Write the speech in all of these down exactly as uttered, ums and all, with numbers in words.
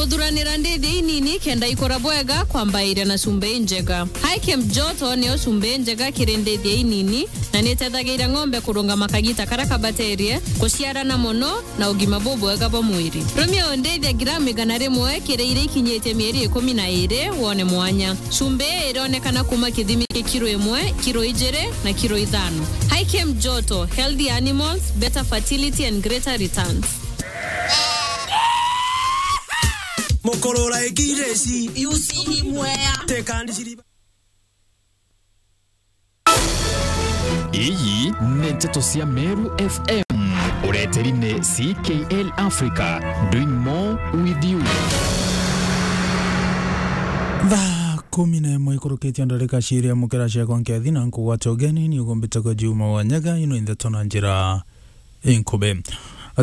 Kuthuranira ndithia inini kenda ikura bwega kwambairia na cumbi injega. High Camp Joto niyo cumbi injega kiri ndithia inini na nitethagiria ng'ombe kurungama kagita karia kabaterie, kuciarana mono na ugima bubwega bwa mwiri. Rumia undithia gramu igana rimwe kiri iria ikinyitie mieri ikumi na iri wone mwanya. Cumbi ii ironekana kuma kithimi kia kiro imwe, kiro ijiri na kiro ithano. High Camp Joto, healthy animals, better fertility and greater returns. Mukurura ikireci. Yusi ni mwea. Tekandiciriba. Iyi ni nteto cia Meru F M. Ureteri ni C K L Africa, doing more with you. Thaa kumi na imwe ikurukitie ndarika ciiri, amukira ciakwa nkethi na nkugwate ugeni, ni ugumbite kwa Juma wa Nyaga, ino ndeto na njira inkubi.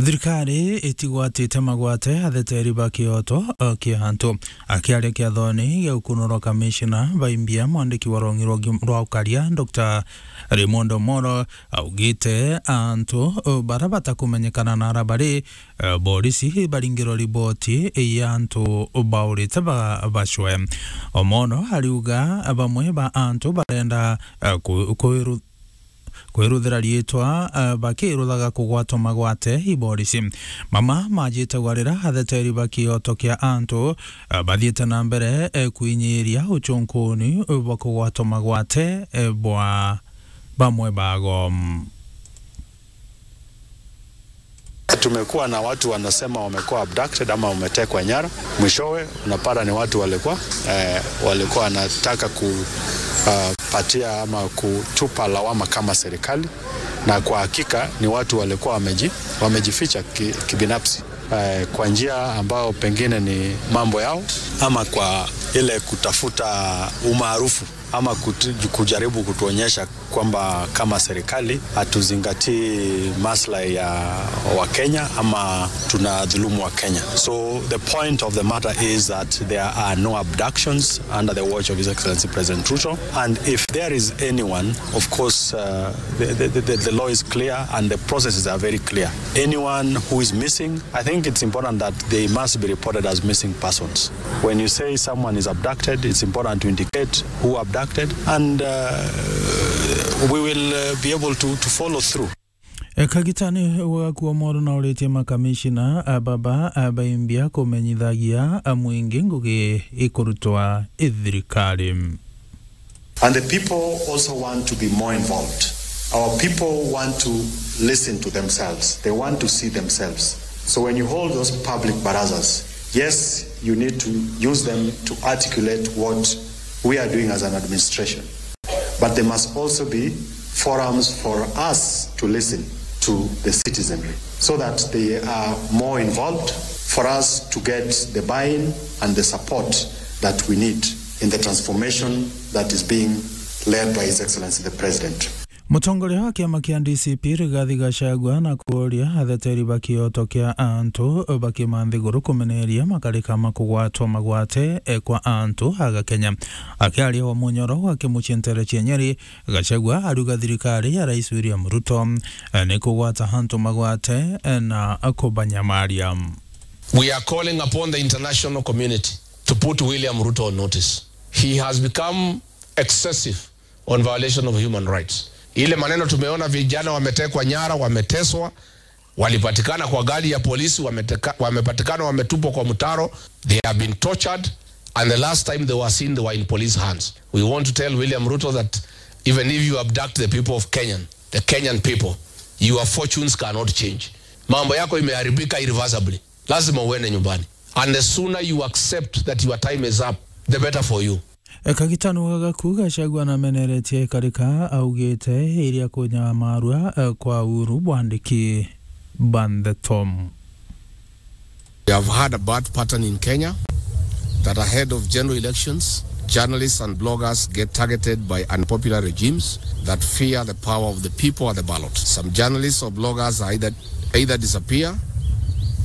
Thirikari itigwatite magwate atheteri ba kioto, uh, kia antu. Akiaria kiathoni gia ukunurwa kamishina baimbia, mwandiki wa rwang'i rwa gi-, rwa ukaria, Doctor Raymond Omolo, augite antu, uh, bara batakumenyekana nara bari, uh, borisi baringirwa riboti ya antu baurite ba-, bacwe. Omolo ariuga bamwe ba antu barenda, uh, ku-, kwiru-, kwiruthira riitwa, eh, bakiruthaga kugwatwa magwate i borisi. Mama majite gwarira atheteri ba kioto kia antu, eh, bathiite na mbere, eh, kwinyiria ucunkuni, eh, bwa kugwatwa magwate, eh, bwa bamwe bago. Tumekuwa na watu wanasema wamekuwa abducted ama wametekwa nyara. Mwishowe unapata ni watu walikuwa, eh, walikuwa wanataka ku, ah, patia ama kutupa lawama kama serikali, na kwa hakika ni watu walikuwa wameji-, wamejificha ki-, kibinafsi, eh, kwa njia ambayo pengine ni mambo yao ama kwa ile kutafuta umaarufu ama kutu-, kujaribu kutuonyesha kwamba kama serikali hatuzingatii maslahi ya Wakenya ama tunadhulumu Wakenya. So the point of the matter is that there are no abductions under the watch of His Excellency President Ruto. And if there is anyone, of course, uh, the, the, the, the law is clear and the processes are very clear. Anyone who is missing, I think it's important that they must be reported as missing persons. When you say someone is abducted, it's important to indicate who abducted, and, uh, we will, uh, be able to, to follow through. E, kagitani wa gakua moro na uritie makamishina, a, baba, a, baimbia kumenyithagia, a, mwingi ngugi ikurutwa i thirikari. And the people also want to be more involved. Our people want to listen to themselves. They want to see themselves. So when you hold those public barazas, yes, you need to use them to articulate what we are doing as an administration. But there must also be forums for us to listen to the citizenry so that they are more involved, for us to get the buy-in and the support that we need in the transformation that is being led by His Excellency the President. Mutongoria wa kiama kia D C P Rigathi Gachagua na kuuria atheteri ba kioto kia antu bakima nthiguru kumeneria makarika ma kugwatwa magwate, e, kwa antu aga Kenya. Akiaria wa munyoro wa kimucii ntere cia Nyeri, Gachagua ariuga thirikari ya Rais William Ruto, e, ni kugwata antu magwate, e, na kubanyamaria. We are calling upon the international community to put William Ruto on notice. He has become excessive on violation of human rights. Ile maneno tumeona vijana wametekwa nyara, wameteswa, walipatikana kwa gari ya polisi, wameteka-, wamepatikana wametupwa kwa mtaro, they have been tortured, and the last time they were seen, they were in police hands. We want to tell William Ruto that even if you abduct the people of Kenyan, the Kenyan people, your fortunes cannot change. Mambo yako imeharibika irreversibly. Lazima uende nyumbani. And the sooner you accept that your time is up, the better for you. E, kagitano gagaku Gachagua nameneretie ikarika augite iria kunyamarua, e, kwa uhuru bwandiki ba ndeto. We have had a bad pattern in Kenya that ahead of general elections, journalists and bloggers get targeted by unpopular regimes that fear the power of the people at the ballot. Some journalists or bloggers are either, either disappear,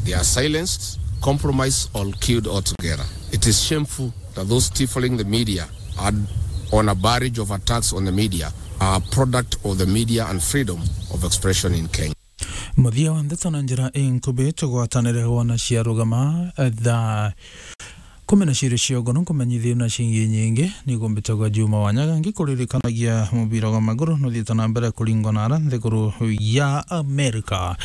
they are silenced, compromised or killed altogether. It is shameful that those stifling the media are on a barrage of attacks on the media are a product of the media and freedom of expression in Kenya. Muthia wa ndeto na njira inkubi, tugwatanire wona cia rugama, eh, thaa kumi na ciiri cia ugono nkumenyithie na cingi nyingi, ni kumbitagwa Juma Wanyaga, ngikuririkanagia mubira wa maguru nuthiite na mbere kuringwa na ara nthiguru ya Amerika.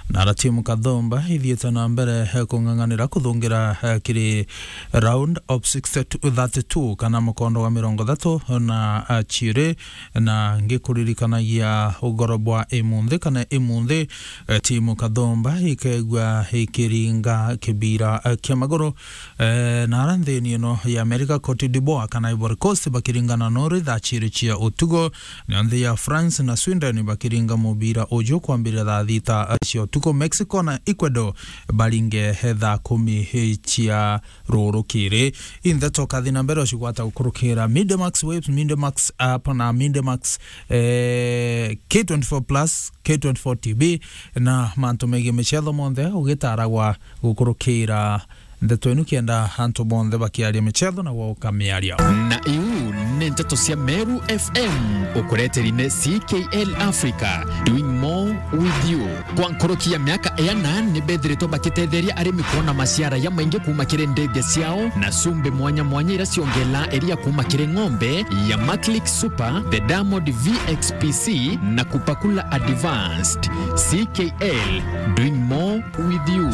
Na ara timu kathumba ithiite na mbere, eh, kung'ang'anira kuthungira, eh, kiri round of sixty-two, thirty-two, kana mukondo wa mirongo ithatu na, eh, ciiri. Na ngikuririkanagia ugoro bwa imunthi kana imunthi, eh, timu kathumba ikegua ikiringa kibira, eh, kia maguru, eh, na ara nthini ino ya Amerika, Cote d'Ivoire kana Ivory Coast bakiringana nori thaa ciiri cia utugo, na nthi ya France na Sweden bakiringa mubira uju kwambirira thaa thita, eh, cia utugo. Mexico na Ecuador baringe, eh, thaa kumi, eh, cia rurukiri. Inthe toka thina mbere ucigwata gukurukira Midemax Waves, Midemax App na Midemax, eh, K twenty-four plus, K twenty-four T V na mantu megie micetho monthe ugitaragwa gukurukira ndeto inu kenda antu bonthe bakiaria micetho na gwoka miario. Na iu ni nteto cia Meru F M, ukureteri ni C K L Africa, doing more with you. Kwa nkuruki ya miaka iana, ni bethiritwe bakitetheria arimi kwona maciara ya maingi kuuma kiri ndege ciao na cumbi mwanya mwanya iria ciongela iria kuuma kiri ng'ombe ya Maclick Super, the Diamond V X P C na Kupakula Advanced. C K L, doing more with you.